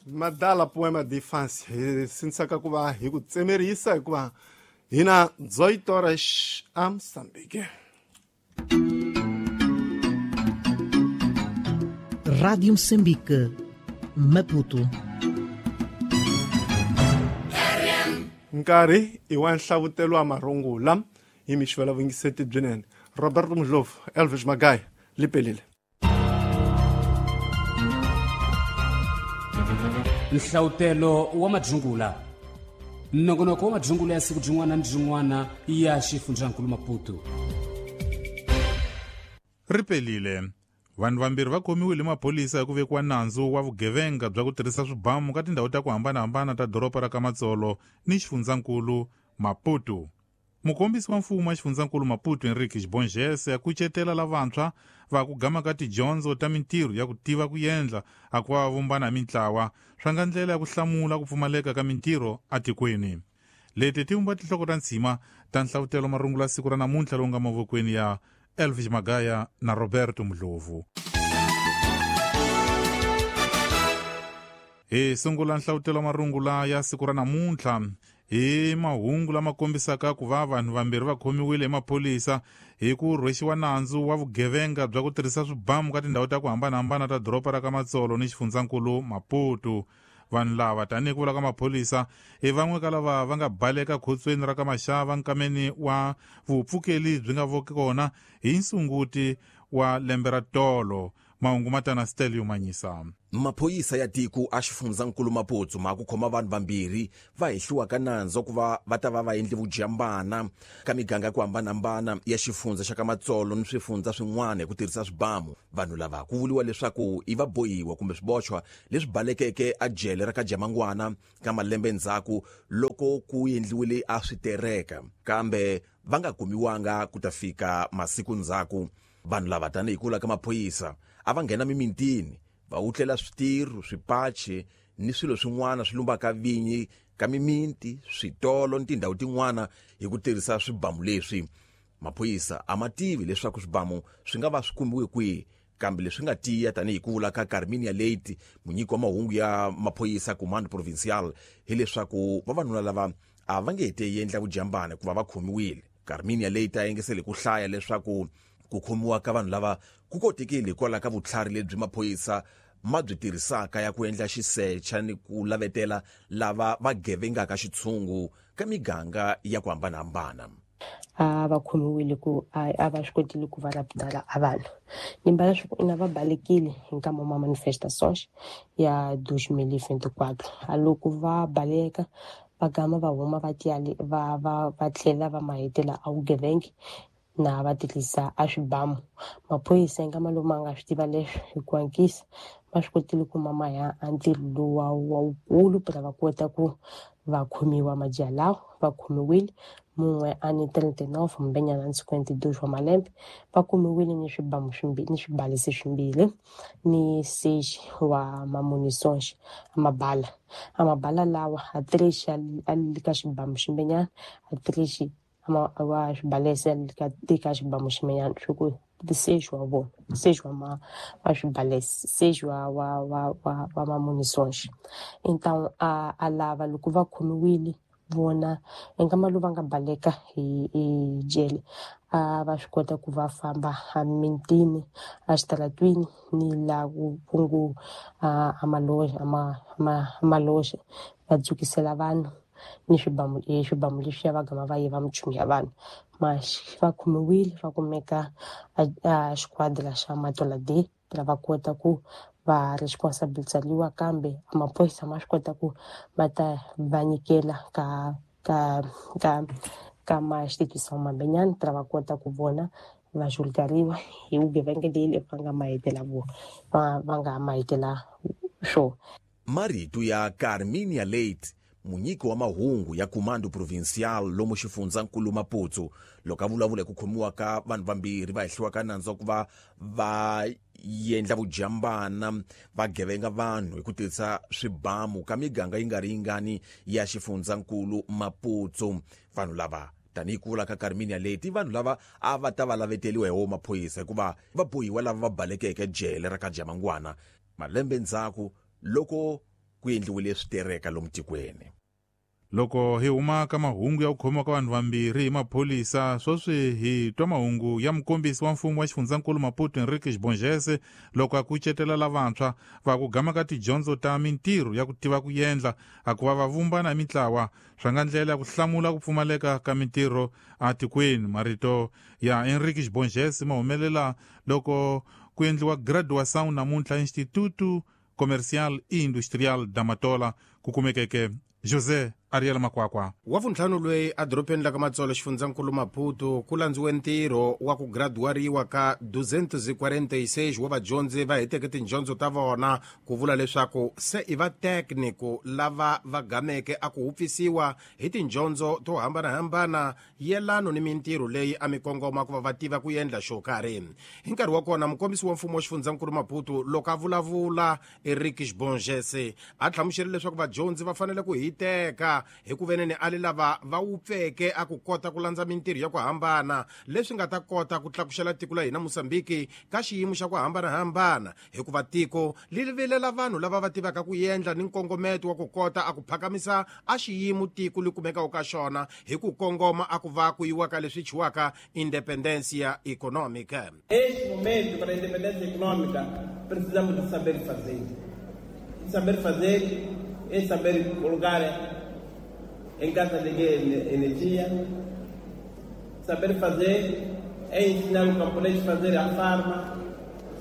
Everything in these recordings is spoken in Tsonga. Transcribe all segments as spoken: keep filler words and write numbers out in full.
Madala poema de infância hi sindzisaka ku va hi ku tsemerisa hikuva hina dezoito horas a Moçambique. Rádio Moçambique, Maputo. Nkarhi i wa nhlavutelo wa marungula hi mixivela vungiseti byinene. Roberto Mudlovu, Elvis Magaya, lipelile. Nhlavutelo wa madzungula. Nongonoko wa madzungula ya siku byin'wana ni byin'wana ya xifundzankulu Maputo. Ripelile. Vanhu vambirhi va khomiwile maphorisa hi ku vekiwa nandzu wa vugevenga bya ku tirhisa swibamu ka tindhawu ta ku hambanahambana ta doroba ra Kamatsolo ni xifundzankulu Maputo. Mukombisi wa mfumo wa xifundzankulu Maputo Henrique Xibongese a kucetela lavantshwa va ku gama ka tidyondzo ta mintirho ya ku tiva ku endla a ku va vumbana hi mintlawa swa nga ndlela ya ku hlamula ku pfumaleka ka mintirho etikweni. Leti ti vumba tinhloko ta ntshima ta nhlavutelo marungula siku ra namuntlha lowu nga mavokweni ya Elvis Magaya na Roberto Mudlovu. Hi sungula nhlavutelo marungula ya siku ra namuntlha hi mahungu lama kombisaka ku va vanhu vambirhi va khomiwile hi maphorisa hi ku rhwexiwa nandzu wa vugevenga bya ku tirhisa swibamu ka tindhawu ta ku hambanahambana ta doroba ra Kamatsolo ni xifundzankulu Maputo. Vanhu lava tanihi ku vula ka maphorisa hi van'we ka lava va nga baleka khotsweni ra ka Maxava nkameni wa vupfukeli byi nga voki kona hi nsunguti wa lembe ra tolo. Mahungu matana Stelio Manyisa. Maphorisa ya tiko a xifundzankulu Maputo ma ku khoma vanhu vambirhi va hehliwa ka nandzu ku va va ta va va endle vujambana ka miganga ku hambanahambana ya xifundza xa Kamatsolo ni swifundza swin'wana hi ku tirhisa swibamu. Vanhu lava ku vuriwa leswaku i va bohiwa kumbe swibochwa leswi balekeke a jele ra ka Jamangwana ka malembe ndzhaku loko ku endliwile a switereka, kambe va nga kumiwanga ku ta fika masiku ndzhaku. Vanhu lava tanihi ku vula ka maphorisa a va nghena mimintini va wutlela switirho, swipachi ni swilo swin'wana swi lumbaka vinyi ka miminti, switolo ni tindhawu tin'wana hi ku tirhisa swibamu leswi. Maphorisa a ma tivi leswaku swibamu swi nga va swi kumiwe kwihi, kambe leswi nga tiya tanihi ku vula ka Carminia Leite, munyiki wa mahungu ya maphorisa Comando Provincial, hileswaku vavanuna lava a va nge he endla vujambana hikuva va khomiwile. Carminia Leite a yengesele ku hlaya leswaku ku khomiwa ka vanhu lava ku kotekile hikwalaho ka vutlhari lebyi maphorisa ma byi tirhisaka ya ku endla xisecha ni ku lavetela lava va gevengaka xitshungu ka miganga ya ku hambanahambana. A va khomiwile ku a va swi kotile ku va raptala a vanhu nimba leswaku ina va balekile hi nkama wa manifestações ya dois mil e vinte e quatro. A loko va baleka va gama va huma va tiyali va va va tlhela va mahetela a vugevenga na va tirhisa a swibamu. Maphorisa hi nkama lowu ma nga swi tiva leswi hi ku hatlisa va swi kotile ku mama ya a ntirho lowu wa wukulu pra va kota ku va khomiwa majaha lawa. Va khomiwile mun'we a ni trinta e nove mbenyana ni cinquenta e dois wa malembe, va kumiwile ni swibamu swimbirhi ni swibalesi swimbirhi ni seis wa mamunições a mabala a mabala lawa a três a li ka xibamu ximbenyana a três ama wa swibalesi ka tika xibamu ximenyana swi ku seis wa vona seis wa ma wa swibalesi seis wa wa wa wa wa mamunições. Então a a lava loko va khomiwile vona nkama lowu va nga baleka hi hi jele a va swi kota ku va famba a mintini a xitaratwini ni la ku kungu a maloja a maloja va dzukisela vanhu ni swibamu swibamu leswiya va gama va yiva minchumu ya vanhu. Mas va khomiwile va kumeka a xiquadra xa Matola D va kota ku va responsabilizariwa, kambe maphorisa ma swi kota ku va ta va nyikela ka ka ka ka ma instituição mambenyana pra va kota ku vona va julgariwa hi vugevenga leyi va nga mahetela vo va va nga mahetela swo. Marito ya Carminia Leite, munyiki wa mahungu ya Comando Provincial lomu xifundzankulu Maputo, loko a vulavula hi ku khomiwa ka vanhu vambirhi va hehliwa ka nandzu wa ku va va endla vujambana va gevenga vanhu hi ku tirhisa swibamu ka miganga yi nga ri yingani ya xifundzankulu Maputo. Vanhu lava tanihi ku vula ka Carminia Leite, vanhu lava a va ta va laveteliwa hi wo maphorisa hikuva va bohiwa lava va balekeke jele ra ka Jamangwana malembe ndzhaku loko ku endliwile switereka lomu tikweni. Loko hi huma ka mahungu ya ku khomiwa ka vanhu vambirhi hi maphorisa, sweswi hi twa mahungu ya mukombisi wa mfumo wa xifundzankulu Maputo Henriques Bongese loko a kucetela lavantshwa va ku gama ka tidyondzo ta mintirho ya ku tiva ku endla a ku va va vumbana hi mintlawa swa nga ndlela ya ku hlamula ku pfumaleka ka mintirho atikweni. Marito ya Henriques Bongese ma humelela loko ku endliwa graduação namuntlha Instituto Comercial e Industrial da Matola ku kumekeke José Ariel Makwakwa. Wa vuntlhanu loyi edorobeni la ka Matsolo xifundzankulu Maputo ku landziwe ntirho wa ku graduariwa ka duzentos e quarenta e seis wa vadyondzi va heteke tidyondzo ta vona, ku vula leswaku se i va técnico lava va gameke a ku hupfisiwa hi tidyondzo to hambanahambana yelano ni mintirho leyi a mi kongoma ku va va tiva ku endla xo karhi. Hi nkarhi wa kona mukombisi wa mfumo wa xifundzankulu Maputo loko a vulavula Henriques Bongese a hlamuserile leswaku vadyondzi va fanele ku hiteka hi ku veneni a le lava va wupfeke a ku kota ku landza mintirho ya ku hambana leswi nga ta kota ku tlakuxela tiko la hina Mozambique ka xiyimo xa ku hambanahambana, hikuva tiko li vilela vanhu lava va tivaka ku endla ni nkongometo wa ku kota a ku phakamisa a xiyimo tiko li kumekaka ka xona hi ku kongoma a ku va ku yiwa ka leswi chiwaka independência econômica. Este momento para a independência econômica precisamos de saber fazer. E saber fazer é saber colocar em casa de energia. Saber fazer é ensinar o camponês a fazer a farma.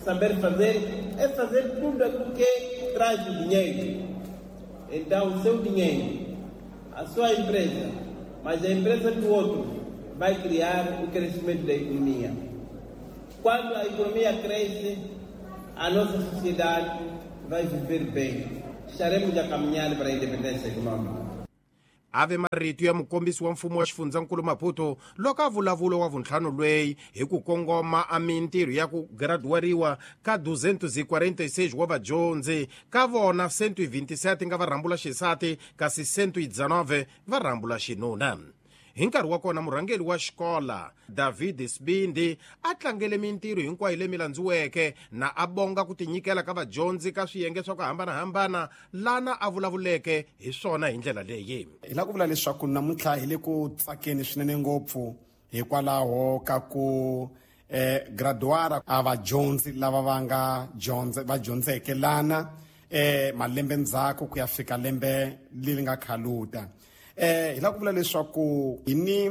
Saber fazer é fazer tudo aquilo que traz o dinheiro. Então, o seu dinheiro, a sua empresa, mas a empresa do outro vai criar o crescimento da economia. Quando a economia cresce, a nossa sociedade vai viver bem. Estaremos a caminhar para a independência econômica. Ave marito ya mukombisi wa mfumo wa xifundzankulu Maputo loko a vulavula wa vuntlhanu loyi hi ku kongoma a mintirho ya ku graduariwa ka duzentos e quarenta e seis wa vadyondzi, ka vona cento e vinte e sete nga va rhambula xisati kasi cento e dezenove va rhambula xinuna. Hi nkarhi wa kona murhangeri wa xikola David Sibindi a tlangele mintirho hinkwayo leyi landziweke na a bonga ku tinyikela ka vadyondzi ka swiyenge swa ku hambanahambana lana a vulavuleke hi swona hi ndlela leyi. Hi lava ku vula leswaku namuntlha hi le ku tsakeni swinene ngopfu hikwalaho ka ku eh, graduara a vadyondzi lava va nga dyondze va dyondzeke lana eh, malembe ndzhaku ku ya fika lembe leri nga khaluta. Eh, hi lava ku vula leswaku hi ni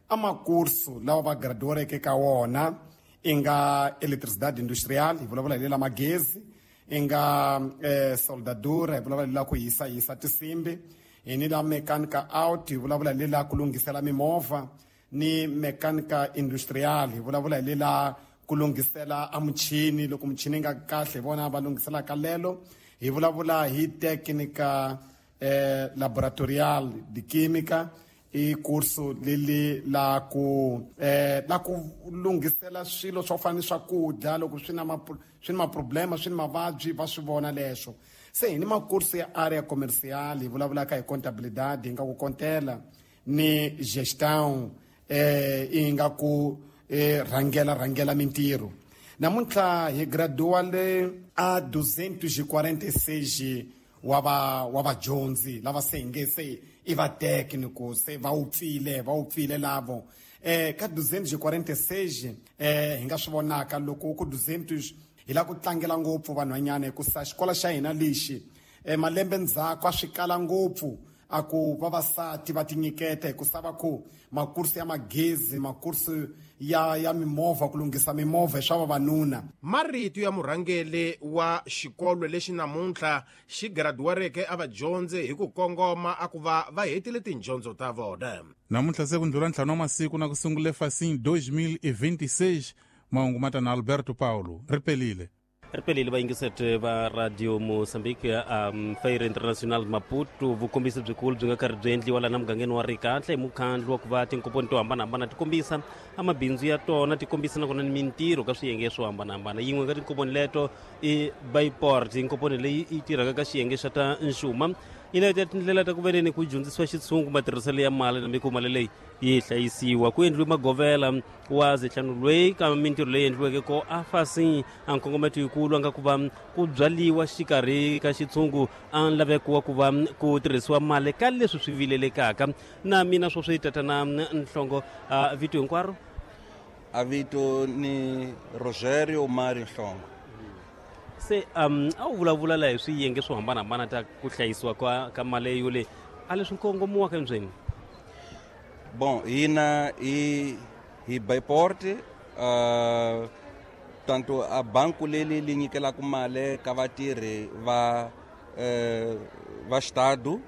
amakursu lawa va graduareke ka wona i nga electricidade industrial, hi vulavula hi lela magezi, i nga eh, soldadura, hi vulavula hi lela ku hisa hisa tinsimbi, hi ni la mechanica out, hi vulavula hi lela ku lunghisela mimovha, ni mechanica industrial, hi vulavula hi lela ku lunghisela a muchini loko muchini yi nga kahle hi vona va lunghiselaka lelo, hi vulavula hi technica eh, laboratorial de química i kursu leli la ku eh, la ku lunghisela swilo swo fana ni swakudya loko swi na swi na maproblema swi na mavabyi va swi vona leswo. Se hi ni makursu ya area commercial, hi vulavulaka hi contabilidade, hi nga ku kontela ni gestão, eh, hi nga ku eh, rhangela rhangela mintirho. Namuntlha hi graduale a duzentos e quarenta e seis wa va wa vadyondzi lava se hi nge se i va técnico, se va wupfile va wupfile lavo eh ka duzentos e quarenta e seis eh hi nga swi vonaka loko ku duzentos hi lava ku tlangela ngopfu vanhwanyana hikusa xikolo xa hina lexi eh malembe ndzhaku a swi kala ngopfu a ku vavasati va tinyiketa hikusa va ku makursu ya magezi, makursu ya ya mimovha, ku lunghisa mimovha hi swa vavanuna. Marito ya murhangeri wa xikolo lexi namuntlha xi graduareke a vadyondzi hi ku kongoma a ku va va hetile tidyondzo ta vona. Namuntlha se ku ndlula ntlhanu wa masiku na ku sungule Facim dois mil e vinte e seis, mahungu ma ta na Alberto Paulo. Ri pelile. Ripelile vayingiseti va Radio Mozambique um, Feira International Maputo, vukombisi byikulu byi nga karhi byi endliwa lana mugangeni wa Rikahle hi mukhandlu wa ku va tinkomponi to hambanahambana ti kombisa amabindzu ya tona, ti kombisa nakona ni mintirho ka swiyenge swo hambanahambana. Yin'we ka tinkomponi leto i Bayport, inkomponi leyi yi tirhaka ka xiyenge xa ta nxuma. Yi leta tindlela ta ku veneni ku dyondzisiwa xitshungu matirhiselo ya mali na ku mali leyi yi hlayisiwa. Ku endliwe magovela wa zihlanu loyi ka mintirho leyi endliweke ko a fasi a nkongometo yikulu a nga ku va ku byaliwa xikarhi ka xitshungu a laveko wa ku va ku tirhisiwa mali ka leswi swi vilelekaka. Na mina sweswi tatana Nhlongo, vito hinkwaro? A vito ni Rogerio Mario Nhlongo. Se um a wu vulavula la hi swiyenge swo hambanahambana ta ku hlayisiwa ka ka mali yole a leswi nkongomiwaka endzeni. Bom, hina hi hi Bayport, uh, tanto a banco leli li nyikelaka mali ka vatirhi va uh, va xitado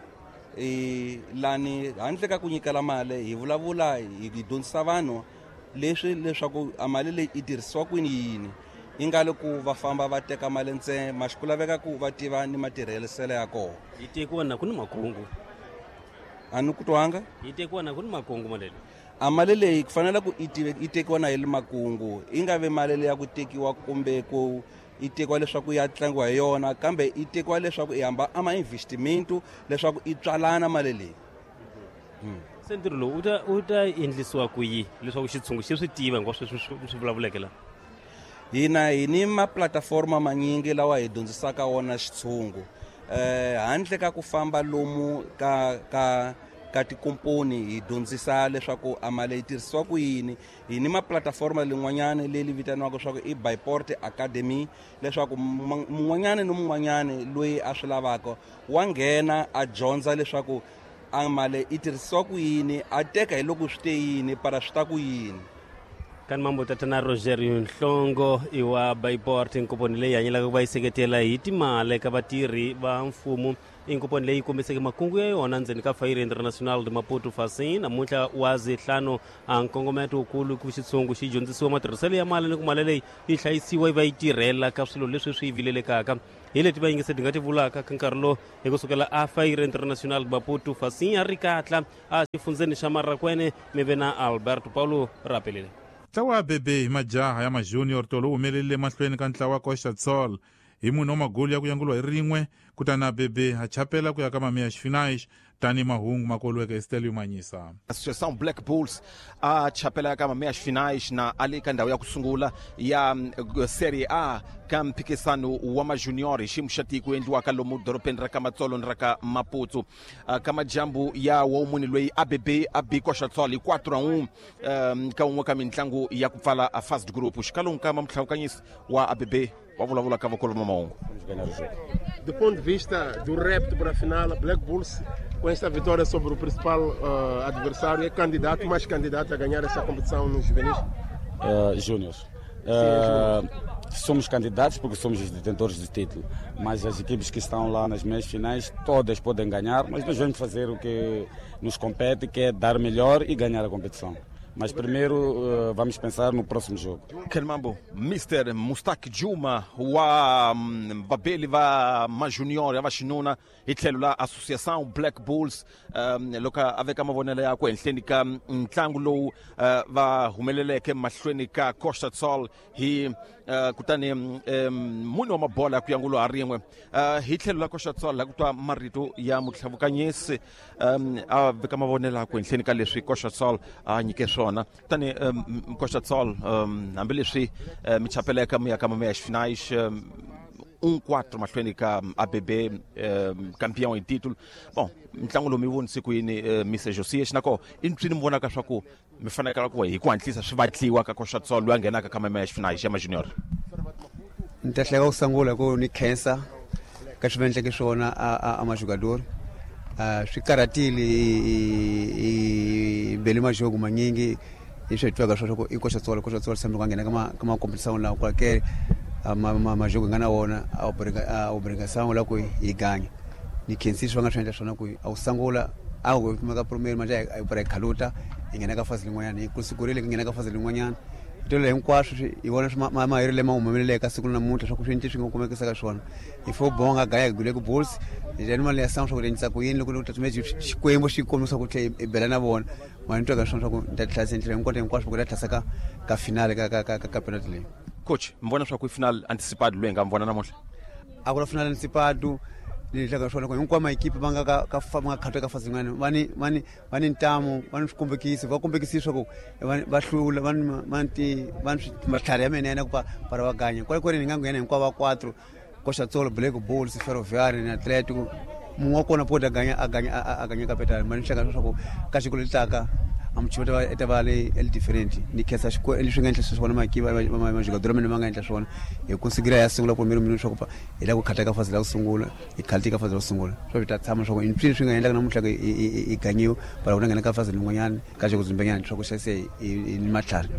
i lani handle ka ku nyikela mali hi vulavula hi dyondzisa vanhu leswi leswaku a mali leyi yi tirhisiwa kwini yini yi nga le ku va famba va teka mali ntsena ma xi ku laveka ku va tiva ni matirhiselo ya kona. Yi tekiwa na ku ni makungu a ni ku twanga yi tekiwa na ku ni makungu mali leyi a mali leyi ku fanele ku yi tekiwa na hi le makungu yi nga vi mali leyi ya ku tekiwa kumbe ku yi tekiwa leswaku ya tlangiwa hi yona kambe yi tekiwa leswaku yi hamba ama investimentu leswaku yi tswalana mali leyi. Se ntirho lowu wu ta wu ta endlisiwa ku yi leswaku xitshungu xi swi tiva hinkwaswo leswi swi vulavuleke la? Hina hi ni maplataforma manyingi lawa hi dyondzisaka wona xitshungu eh handle ka ku famba lomu ka ka ka tikomponi hi dyondzisa leswaku a mali yi tirhisiwa ku yini. Hi ni maplataforma lin'wanyana leyi vitaniwaka leswaku i Bayport Academy leswaku mun'wanyana ni mun'wanyana loyi a swi lavaka wa nghena a dyondza leswaku a mali yi tirhisiwa ku yini a teka hi loko swi te yini para swi ta ku yini. Kan mambo tatana Rogerio Nhlongo i wa Bayport, inkomponi leyi hanyelaka ku va yi seketela hi timali ka vatirhi va mfumo. Inkomponi leyi kombiseke makungu ya yona ndzeni ka Feira Internacional de Maputo Fasin namuntlha wa zihlanu. A nkongometo wukulu ku xitshungu xi dyondzisiwa matirhiselo ya mali ni ku mali leyi yi hlayisiwa yi va yi tirhela ka swilo leswi swi vilelekaka. Hi leti vayingisi ti nga ti vulaka ka nkarhi lowu hi kusukela a Feira Internacional de Maputo Fasin a ri katla a xifundzeni xa Marrakwene mi ve na Alberto Paulo Rapelile. Ntlawa wa Bebe hi majaha ya majunior tolo wu humelerile mahlweni ka ntlawa wa Costa Sol hi munhu wa magoli ya ku yanguliwa hi rin'we kutani a Bebe a chapela ku ya ka mamiya xifinaish tani mahungu makoliweke Estelio Manyisa. Associação Black Bulls a chapela ka mamiya xifinaish na ali ka ndhawu ya ku sungula ya Serie A ka mphikisano wa majunior hi xiyimo xa tiko endliwaka lomu dorobeni ra ka Matsolo ni ra ka Maputo. Ka majambu ya womuni loyi A B B a bi Costa Sol hi quatro a um ka un'we ka mintlangu ya ku pfala a first group. Xikalongo ka mamutlhawukanyisi wa A B B wa vulavula ka vakulu va mahungu. Do ponto de vista do repto para a final, Black Bulls, com esta vitória sobre o principal uh, adversário, é candidato, mais candidato a ganhar essa competição nos juvenis? Uh, Júniors. Uh, somos candidatos porque somos os detentores do título, mas as equipes que estão lá nas meias finais, todas podem ganhar, mas nós vamos fazer o que nos compete, que é dar melhor e ganhar a competição. Mas primeiro uh, vamos pensar no próximo jogo. Kelmambo, mister Mustak Juma wa babeli va majunior ya vaxinuna hi tlhelo la Associação Black Bulls um, loko a veka mavonelo yakwe ehenhleni ka ntlangu lowu uh, va humeleleke mahlweni ka Costa Sol hi uh, kutani um, mune wa mabola ya ku yangulo ha rin'we. uh, hi tlhelo la Costa Sol la ku twa marito ya mutlhavukanyisi um, a veka mavonelo yakwe ehenhleni ka leswi Costa Sol a nyike swona. Kutani um, Costa Sol um, hambileswi uh, mi chapeleka mi ya ka mamiya xifinaish um, um quatro mahlweni ka A B B um, campeão em título. Bom, ntlangu lowu mi vonise ku yini uh, mister Josias nako i mpfini mi vonaka swa ku mi fanekela ku hi ku hatlisa swi vatliwa ka Costa Sol loyi a nghenaka ka mamiya xifinaish ya majunior? Ni ta hleka ku sungula ku ni khensa ka swi va endleke swona a a majogador. Uh, swi karhatile i bele majogo manyingi hi swi twaka swa ku i Costa Sol Costa Sol sambe ku nghena ka ma ka ma competition la qualquer ma ma majogo nga na wona a obriga a obrigação la ku hi ganya ni khensi swi va nga swi endla swona ku a wu sungula a wu kuma ka premier manje a yi para khaluta hi nghena ka fase lin'wanyana hi ku sikurile ku nghena ka fase lin'wanyana tolo hinkwaswo hi vona swi mahiri lama humeleleke ka siku namuntlha swa ku swi swi nga kumekisa ka swona hi fo bonga gaya hi gule ku Bulls hi jani mali ya sound swa ku endlisa ku yini loko loko xikwembu xi kombisa ku tlhe hi bela na vona mali ni twa ka swona swa ku ni ta tlhasa ndlela hinkwato hinkwaswo ku ta tlhasa ka ka finale ka ka ka ka penalty leyi. Coach, mi vona swa ku i final anticipado loyi hi nga mi vona namuntlha? A ku na final anticipado ni hlaka swona ku hinkwama ekipa va nga ka ka va nga khatha ka fasi yin'wana va ni va ni va ni ntamu va ni swikombekisi va kombekisi swa ku va hlula va ni va ni va ni matlhari ya mina ku va para va ganya kwale kwale ni nga nghena hinkwavo va quatro Costa Tsolo Black Bulls Ferroviário na Atlético munhu wa kona pota ganya a ganya a ganya capital ma ni hlaka swa ku ka xikolo lexitaka amuchivata eta va le el different ni khensa xikwembu leswi nga endla swona makiva majogador mina ma nga endla swona hi ku sigira ya sungula primeiro minuto swa ku hi la ku khata ka fase la ku sungula hi khalti ka fase la ku sungula swa vi ta tshama swa ku i swi nga endlaka namuntlha i ganyiwa para ku nghena ka fase lin'wanyana ka xo ku dzumbenyana swa ku xa se i matlhari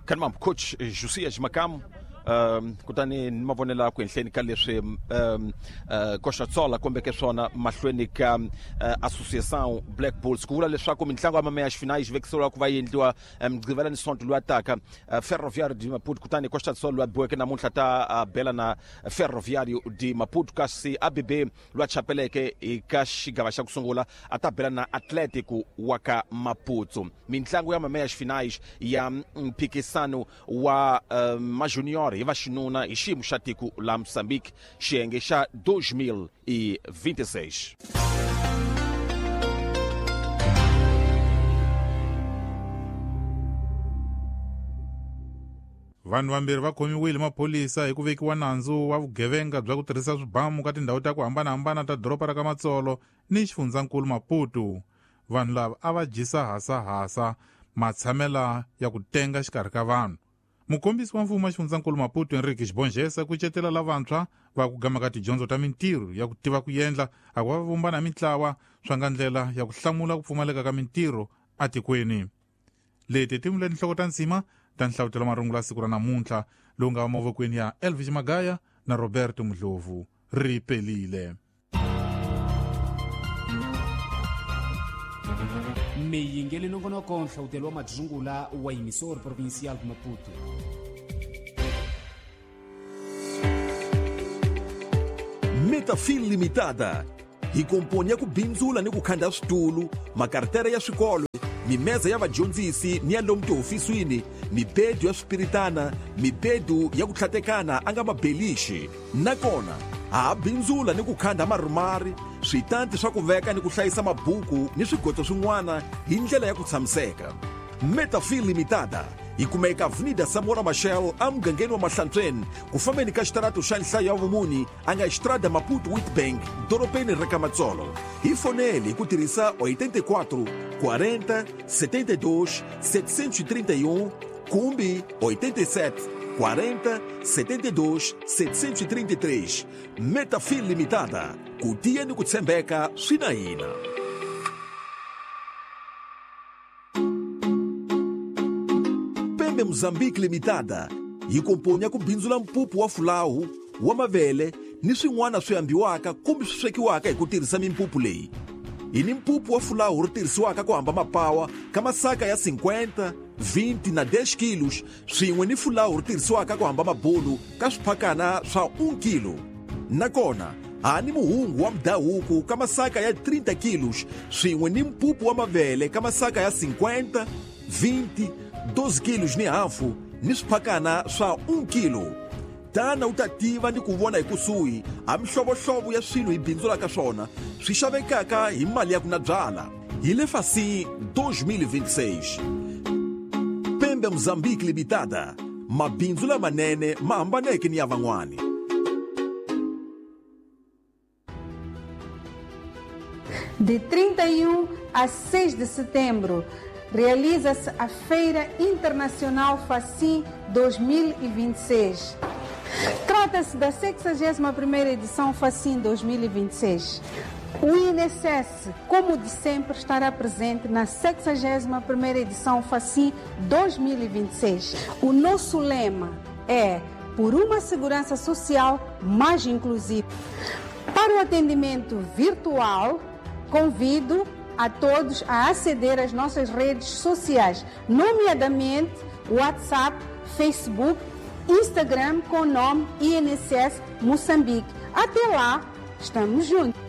Kanimam coach Josias Makamu Um, kutani ni mavonelo ku henhleni ka leswi um, uh, Costa Tsola kombeke swona mahlweni ka uh, Associação Black Bulls ku vula leswaku mintlango ya meias finais vekiseriwa ku va yi endliwa Mugqivela ni Sonto lowu taka uh, Ferroviário de Maputo kutani Costa Tsola loyi a biweke namuntlha ta uh, bela na Ferroviário de Maputo kasi A B B loyi a chapeleke eka xigava xa ku sungula a ta bela na Atlético wa ka Maputo mintlango ya meias finais ya mphikisano wa uh, majunior hi vaxinuna hi xiyimo xa tiko la Moçambique xiyenge xa dois mil e vinte e seis. Vanhu vambirhi va khomiwile maphorisa hi ku vekiwa nandzu wa vugevenga bya ku tirhisa swibamu ka tindhawu ta ku hambanahambana ta doroba ra ka Matsolo ni xifundzankulu Maputo. Vanhu lava a va dyisa hasahasa matshamela ya ku tenga xikarhi ka vanhu. Mukombisi wa mfumo wa xifundzankulu Maputo Henrique Xibongesa ku cetela lavantshwa va ku gama ka tidyondzo ta mintirho ya ku tiva ku endla a ku va vumbana mintlawa swa nga ndlela ya ku hlamula ku pfumaleka ka mintirho atikweni. Leti timule tinhloko ta nsima ta nhlavutelo marungula ya siku ra namuntlha lowu nga mavokweni ya Elvis Magaya na Roberto Mdlovu. Ri pelile. Miyingeli nongonoko nhlawutelo wa madzungula wa emissor provincial de Maputo. Metafil Limitada hi komponi ya ku bindzula ni ku khanda switulu, makartere ya swikolo, mimeza ya vadyondzisi ni ya lomu tihofisini, mibedu ya swipiritana, mibedu ya ku tlhatekana a nga mabelixi. Nakona ha bindzula ni ku khanda marumari, switanti swa ku veka ni ku hlayisa mabuku ni swigotso swin'wana hi ndlela ya ku tshamiseka. Metafil Limitada yi kumeka Avenida Samora Machel emugangeni wa Mahlantsweni ku fambeni ka xitarato xa nhlayo ya vumuni a nga Estrada Maputo Witbank dorobeni ra ka Matsolo. Hi fonele hi ku tirhisa oitenta e quatro, quarenta, setenta e dois, setecentos e trinta e um kumbe oitenta e sete, quarenta, setenta e dois, setecentos e trinta e três. Metafil Limitada, ku tiya ni ku tshembeka swi na hina. Mozambique Limitada yi komponya ku bindzula mpupu wa fulawu wa mavele ni swin'wana swi ambiwaka kumbe swi swekiwaka hi ku tirhisa mimpupu leyi. Hi ni mpupu wa fulawu ri tirhisiwaka ku hamba mapawa ka masaka ya cinquenta, vinte na dez quilos swin'we ni fulawu ri tirhisiwaka ku hamba mabulu ka swiphakana swa um kilo. Nakona ha ni muhungu wa mudhahuku ka masaka ya trinta quilos swin'we ni mpupu wa mavele ka masaka ya cinquenta, vinte, doze quilos ni hafu ni swiphakana swa um kilo. Tana u ta tiva ni ku vona hi kusuhi a mihlovohlovo ya swilo hi bindzulaka swona swi xavekaka hi mali ya ku na byala. Hi le Facim dois mil e vinte e seis. Pembe Mozambique Limitada, mabindzu lamanene ma hambaneke ni ya van'wani. De trinta e um a seis de setembro, realiza-se a Feira Internacional Facim dois mil e vinte e seis. Trata-se da sexagésima primeira edição Facim dois mil e vinte e seis. O I N S S, como de sempre, estará presente na sexagésima primeira edição Facim dois mil e vinte e seis. O nosso lema é por uma segurança social mais inclusiva. Para o atendimento virtual, convido a todos a aceder às nossas redes sociais, nomeadamente WhatsApp, Facebook, Instagram com o nome I N S S Moçambique. Até lá, estamos juntos!